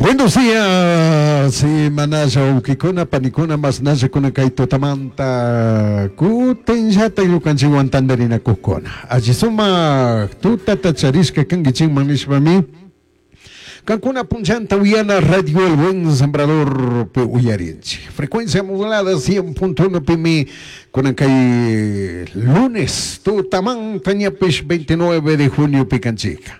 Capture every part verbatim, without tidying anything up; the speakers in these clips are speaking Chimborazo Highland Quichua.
Buenos días, manalla wawkikuna, panikuna, masnallakuna kay tutamanta kutinllata ñukanchikwan tantarinakuqkuna. Alli sumak tutata charishka kankichikman nishpami kankuna punchanta uyana Radio El Buen Sembrador pi uyarinchik. Frecuencia modulada cien punto uno pimi kunan kay lunes tutamanta ñapish veintinueve de junio pikanchika.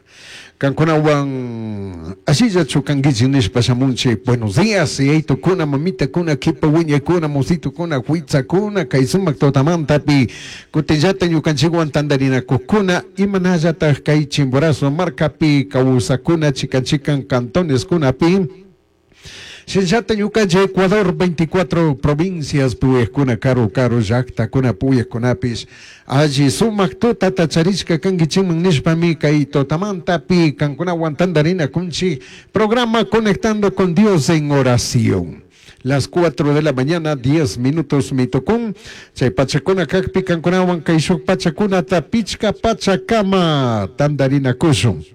Kankunawan ashillachu kankichik nishpa shamunchik. Buenos días, yaytukuna, mamitakuna, kipa wiñaykuna, musitukuna, huitzakuna, kay sumak tutamantapi kutinllata ñukanchikwan tantarinakuqkuna, imanallataj kay Chimborazo markapi kawsakuna chikan chikan cantoneskunapi. Shinllata ñukanchik Ecuador veinticuatro provincias puyajkuna karu karu llaktakuna puyajkunapis alli sumak tutata charishka kankichikman nishpami kay tutamantapi kankunawan tantarinakunchik programa Conectando con Dios en Oración. Las cuatro de la mañana, diez minutos mitokun. Chay pachakuna kakpi kankunawan kay shuk pachakunata pichka pachakama tantarinakushun.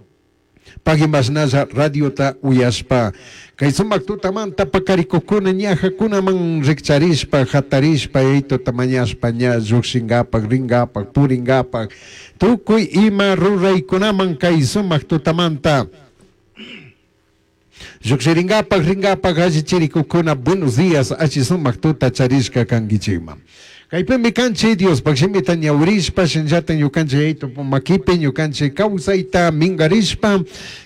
Pagui masnalla radiota uyashpa. Kay sumak tutamanta pakarikukuna ñajakunaman rikcharishpa, hatarishpa, yaytuta mañashpa, ña llukshingapak, ringapak, puringapak, tukuy ima ruraykunaman kay sumak tutamanta. Llukshiringapak, ringapak, allichirikukuna, buenos días, alli sumak tuta charishka kankichikman. Kaypimi kanchik Diospaj shimita ñawirishpa, shinllata ñukanchik yaytu makipi ñukanchik kawsayta minkarishpa,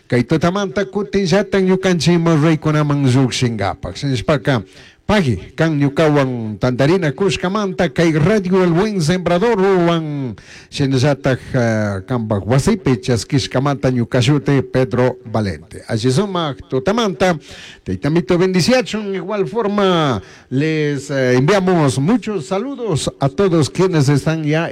kay tutamanta kutinllata ñukanchik ima ruraykunaman llukshingapak. Shinashpaka, pagui, kan ñukawan tantarina kushkamanta kay Radio El Buen Sembrador wan shinallataj, eh, kanpak wasipi chaskishkamanta ñukashuti Pedro Valente. Alli sumak tutamanta, taytamito bendiciachun. Igual forma les, eh, enviamos muchos saludos a todos quienes están ya